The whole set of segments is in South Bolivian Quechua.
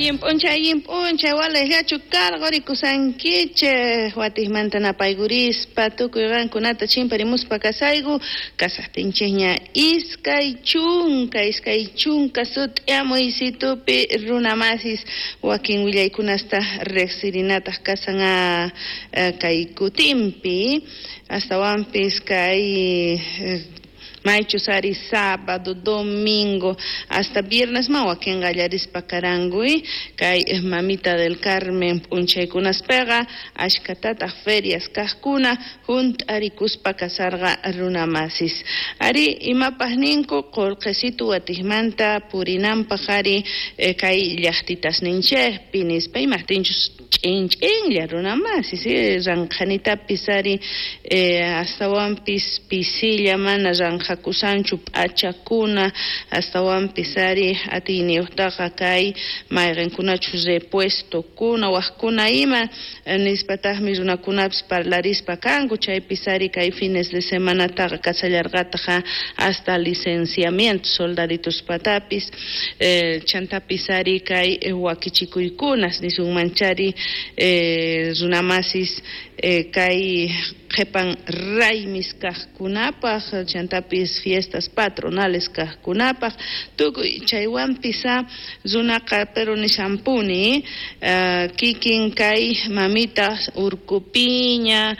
Allin p'unchay walejllachu karqurikusankichej watijmanta napaykurispa tukuy qankunata chimparimuspa kasayku kasajtinchejña 20 sut'iamuysitupi runamasis wakin willaykunasta riqsirinataq kasan kay kutinpi astawanpis kay maychus ari sábado, domingo, hasta viernes ma wakin qallarispa karankuy kay Mamita del Carmen p'unchaykunaspeqa ashkatataq ferias kaqkuna hunt'arikuspa kasarqa runamasis. Ari imapaq ninku qullqisitu watijmanta purinanpaq ari kay llaqtitasninchikpi nispa imaqtinchus ch'in ch'inlla runamasis ranqhanitapis ari astawanpis pisilla mana ranqhakusanchu p'achakuna astawanpis ari atiyniyuqtaqa kay mayqinkunachus repuestokuna waqkuna ima nispataqmi runakunapis parlarispa kanku chaypis ari kay fines de semanataqa kasallarqataqa hasta licenciamiento soldadituspatapis chantapis ari kay wakichikuykunas nisunmanchari runamasis kay qhipan raymis kaqkunapaq chantapis fiestas patronales kaqkunapaq tukuy chaywanpis runaqa pero nishampuni kikin kay mamita urkupiña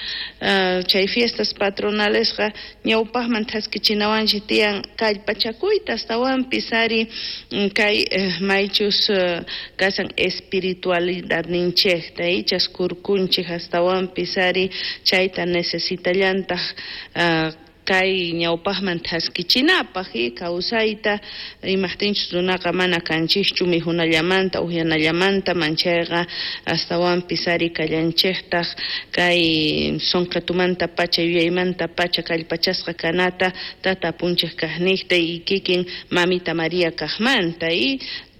chay fiestas patronalesqa ñawpaqman thaskichinawanchik tiyan kallpachakuyta astawanpis ari kay maychus kasan espiritualidadninchikta chaskurkunchik astawanpis ari chayta necesitallantaq kay ñawpaqman thaskichinapaq kawsayta imaqtinchus runaqa mana kanchikchu mikhunallamanta uyanallamanta manchayqa astawanpis ari kallanchiktaq kay sunqitumanta pacha yuyaymanta pacha kallpachasqa kanata tata apunchik kaqniqta y kikin Mamita María kaqmanta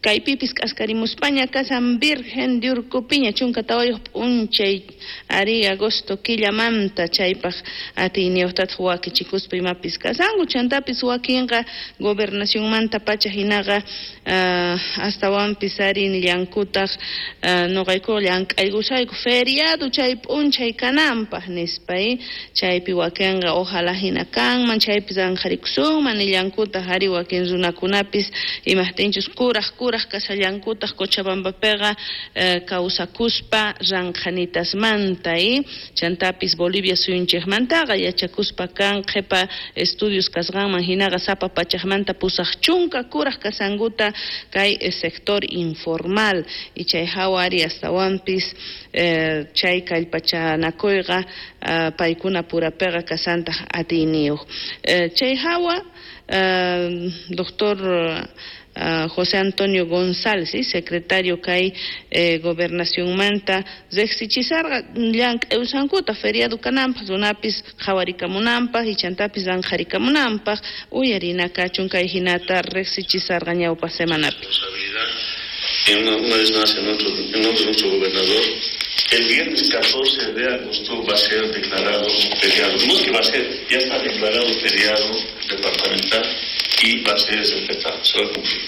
kaypipis k'askarimuspaña kasan Virgen de Urkupiña 14 p'unchay ari agosto killamanta chaypaq atiyniyuqtataq wakichikuspa imapis kasanku chantapis wakinqa gobernacionmanta pacha hinaqa astawanpis ari nillankutaq nuqaykuqa llank'aykusayku feriado chay p'unchay kananpaq nispa chaypi wakinqa ojalá hina kanman chaypis anqharikusunman nillankutaq ari wakin runakunapis imaqtinchus kuraq kasallankutaq Cochabambapiqa kawsakuspa ranqhanitasmanta chantapis Bolivia suyunchikmantaqa yachakuspa kan qhipa estudios kasqanman hinaqa sapa pachaqmanta 80 kuraq kasankuta kay sector informal y chay hawa ari astawanpis chay kallpachanakuyqa paykuna purapiqa kasantaq atiyniyuq chay hawa doctor José Antonio González, secretario kay gobernacionmanta riqsichisarqa llank'ayusankuta feriado kananpaq runapis qhawarikamunanpaq y chantapis ranqharikamunanpaq uyarina kachun kay hinata riqsichisarqa ñawpa semanapi. Una vez más en nombre de nuestro gobernador, el viernes 14 de agosto va a ser declarado feriado. No es que va a ser, ya está declarado feriado departamental y va a ser respetado, se va a cumplir.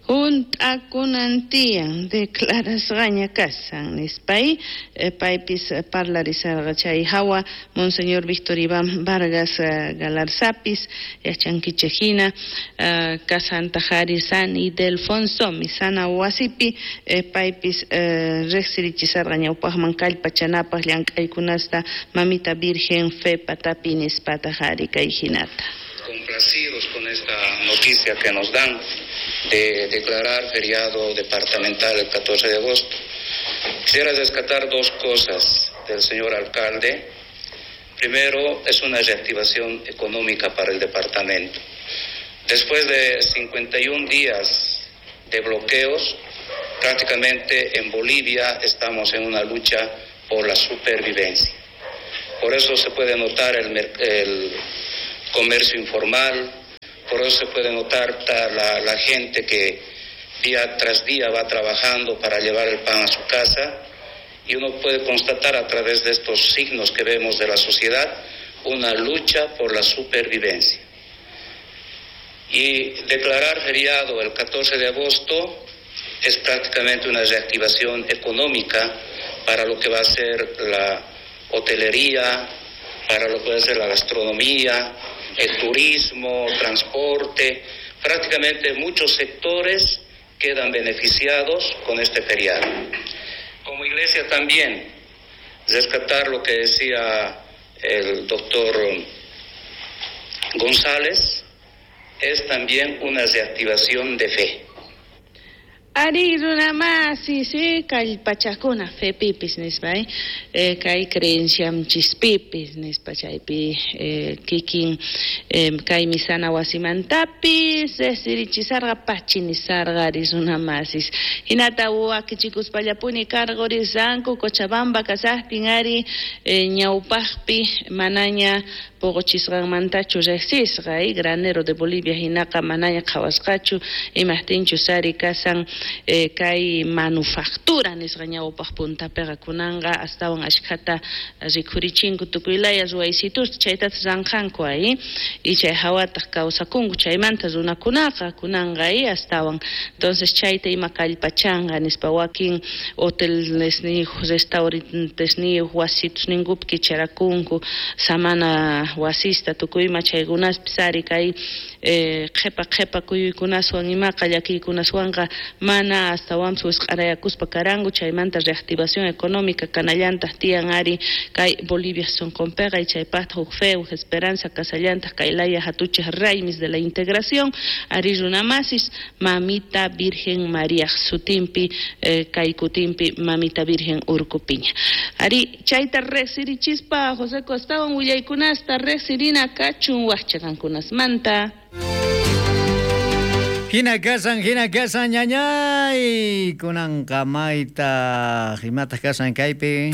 Hunt'akunantiyan declarasqaña kasan nispay paypis parlarisarqa chay hawa Monseñor Víctor Iván Vargas Galarzapis yachankichik hina kasantaq ari San Ildefonso misana wasipi paypis riqsirichisarqa ñawpaqman kallpachanapaq llank'aykunasta Mamita Virgen Fe patapi nispataq ari kay hinata. Complacidos con esta noticia que nos dan de declarar feriado departamental el 14 de agosto. Quisiera rescatar dos cosas del señor alcalde. Primero, es una reactivación económica para el departamento. Después de 51 días de bloqueos, prácticamente en Bolivia estamos en una lucha por la supervivencia. Por eso se puede notar el comercio informal, por eso se puede notar la gente que día tras día va trabajando para llevar el pan a su casa, y uno puede constatar a través de estos signos que vemos de la sociedad una lucha por la supervivencia. Y declarar feriado el 14 de agosto Es prácticamente una reactivación económica para lo que va a ser la hotelería, para lo que va a ser la gastronomía, el turismo, transporte. Prácticamente muchos sectores quedan beneficiados con este feriado. Como iglesia también, rescatar lo que decía el doctor González, es también una reactivación de fe. Ari runa masis, kallpachakuna fepipis nispa, kay creencianchispipis nispa chaypi kikin kay misana wasimantapis sirichisarqa pachinisarqa ari runa masis. Hinata wakichikuspallapuni karqurisanku Cochabamba kasaqtin ari ñawpaqpi manaña poqochisqanmantachu riqsisqa, granero de Bolivia hinaqa manaña qhawasqachu imaqtinchus ari kasan kay manufactura nisqa ñawpaq puntapiqa kunanqa astawan ashkhata rikhurichinku tukuylaya ruwaysitusta chaytataq ranqanku ay y chay hawataq kawsakunku chaymanta runakunaqa kunanqa ay astawan. Entonces chayta ima kallpachanqa nispa wakin hotelesniyuq restaurantesniyuq wasitusninkupi kicharakunku samana wasista tukuyma chaykunaspis ari kay qhipa qhipa kuyuykunaswan imaqa llakiykunaswanqa mana astawanpis wisq'arayakuspa karanku chaymanta reactivación económica kanallantaq tiyan ari kay Bolivia sunqunpiqa y chaypaqtaq huk fe huk esperanza kasallantaq kay laya hatuchaq raymis de la integración ari runamasis Mamita Virgen María sutinpi kay kutinpi Mamita Virgen Urkupiña. Ari chayta riqsirichispa José Costawan willaykunasta riqsirina kachun waqchaqankunasmanta. Hina kasan ñañay kunanqa mayta imataq kasan kaypi.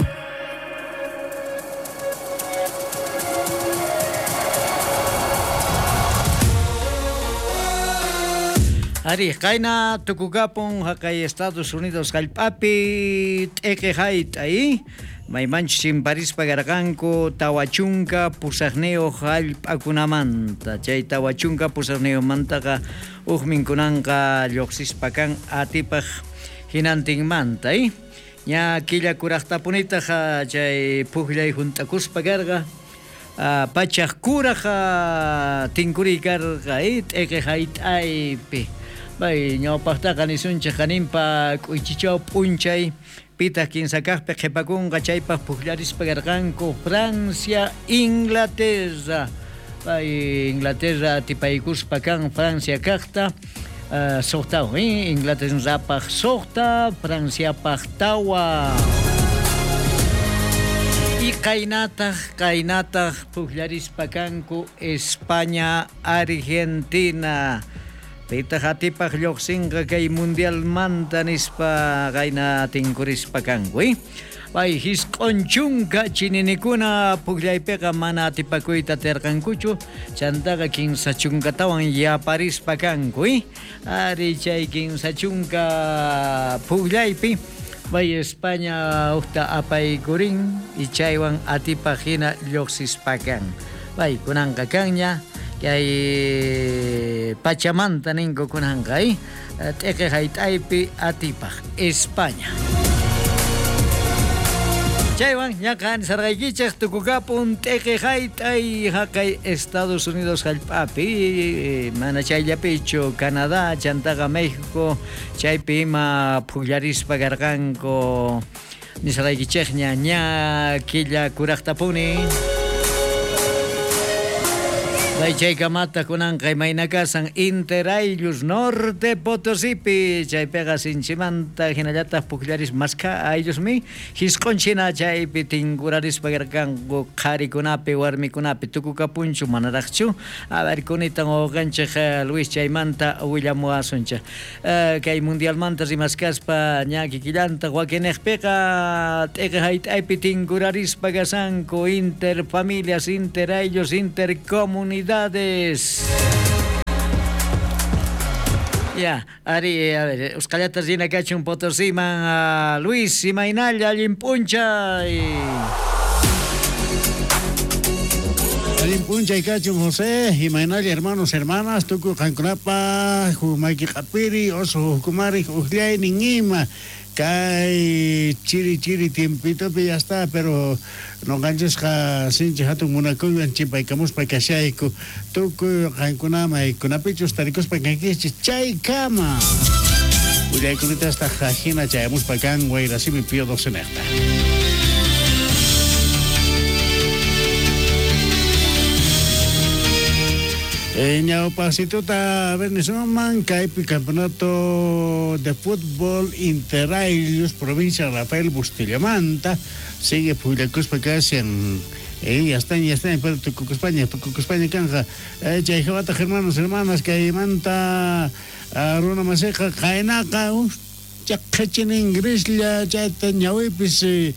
Ari, qayna tukukapun haqay Estados Unidos hallp'api t'iki hayt'ay maymanchus chimparispa karqanku 48 hallp'akunamanta chay 48mantaqa hukmin kunanqa lluqsispa kan atipaq hinantinmanta ña killa kuraqtapunitaq chay pukllay hunt'akuspa karqa pachaq kuraq tinkuriy karqa t'iki hayt'aypi. Bay ñawpaqtaqa nisunchik qaninpa k'uychichaw p'unchay pitaq kinsakaqpi qhipakunqa chaypaq pukllarispa karqanku Francia, Inglaterra. Bay Inglaterra atipaykuspa kan Francia kaqta suqtawan, Inglaterrapaq suqta, Franciapaq tawa. Y qaynataq pukllarispa kanku España, Argentina. Pitaq atipaq lluqsinqa kay mundialmanta nispa qayna tinkurispa kanku. Bay 90 chininikuna pukllaypiqa mana atipakuyta atirqankuchu chantaqa 30tawan yaparispa kanku. Ari chay 30 pukllaypi bay España uqta apaykurin y chaywan atipaq hina lluqsispa kan. Bay kunanqa kanña kay pachamanta ninku kunanqa t'iki hayt'aypi atipaq España. Chaywan ñaqa nisarqaykichik tukukapun t'iki hayt'ay haqay Estados Unidos hallp'api mana chayllapichu Canadá chantaqa México chaypi ima pukllarispa karqanku nisarqaykichikña ña killa kuraqtapuni. Bay chaykamata kunanqa imayna kasan Interaylus Norte Potosipi chaypiqa sinchimanta hinallataq pukllaris maskha ayllusmi hisq'unchina chaypi tinkurarispa karqanku qharikunapi warmikunapi tukukapunchu manaraqchu a ver kunitan wawqanchik Luis chaymanta willamuwasunchik kay mundialmanta rimaskaspa ña kikillanta wakinniqpiqa t'iki hayt'aypi tinkurarispa kasanku interfamilias interayllos intercomunidades. Ya, ari, a ver, usqallata rina kachun Potosiman, Luis imaynalla allin p'unchay. Ari Allin p'unchay kachun José, imaynalla hermanos, hermanas, tukuy qankunapaj huk maki q'apiri, oso hukkumarik ujllaynin ima, kay chiri chiri tiempitopi ya está, pero noqanchisqa sinchi hatun munakuywan chimpaykamuspa kashayku, tukuy qankuna maykunapichus tarikuspa kankichis chaykama. Willaykunitastaq ajina chayamuspa kan Wayrasimi Pío 12 nejta. Ñawpaqsituta Venezuela kaypi campeonato de fútbol Interailius provincia Rafael Bustillamanta sigue pullakuspa kashan. Ya están, pero tukukuspaña kanja. Chay jawataq hermanos, hermanas, kaymanta runa masiqa qaynaqa chaqhachin ingreslla chayta ñawipis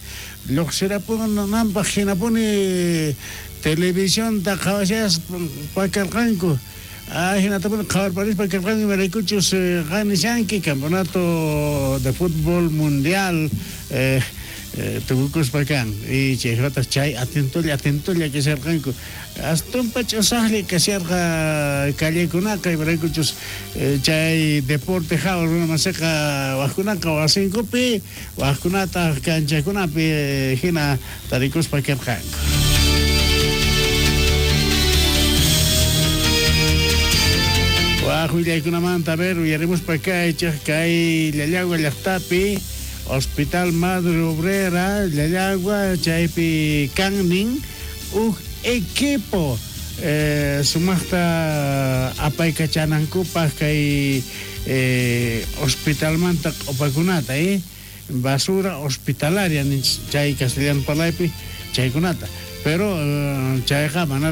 lluqsirapunanpaq hinapuni televisionta qhawashaspa karqanku. Hinatapuni qhawarparispa karqanku imaraykuchus qanishanki campeonato de fútbol mundial tukukuspa kan. Y chayjataq chay atentolla kasharqanku. Astumpa ch'usaqlla kasharqa callekunaqa imaraykuchus chay deporte hawa runa masiqa wajkunaqa wasinkupi wajkunataq kanchakunapi hina tarikuspa karqanku. Waj willaykunamanta a ver uyarimuspa kaychej kay Llallagua llaqtapi Hospital Madre Obrera Llallagua chaypi kannin uj equipo sumaqta apaykachanankupaq kay hospitalmanta q'upakunata basura hospitalaria chay castellano parlaypi chaykunata pero chayqa mana